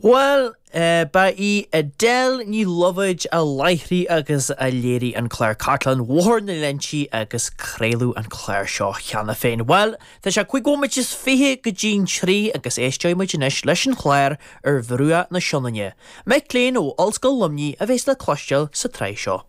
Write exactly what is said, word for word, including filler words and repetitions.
Bhuel, ba í Edel Ní Loibhéid a láithrigh agus a léirigh an clár Cartlann Bhóthar na Leintí agus craoladh an clár seo cheana féin. Bhuel, tá sé cúig bhomaite is fiche go dtí'n trí agus éisteoidh muid anois leis an chlár ar Bhruach na Sionainne. Mic léinn ó Ollscoil Luimnigh a bheas le cloisteáil sa tsraith seo.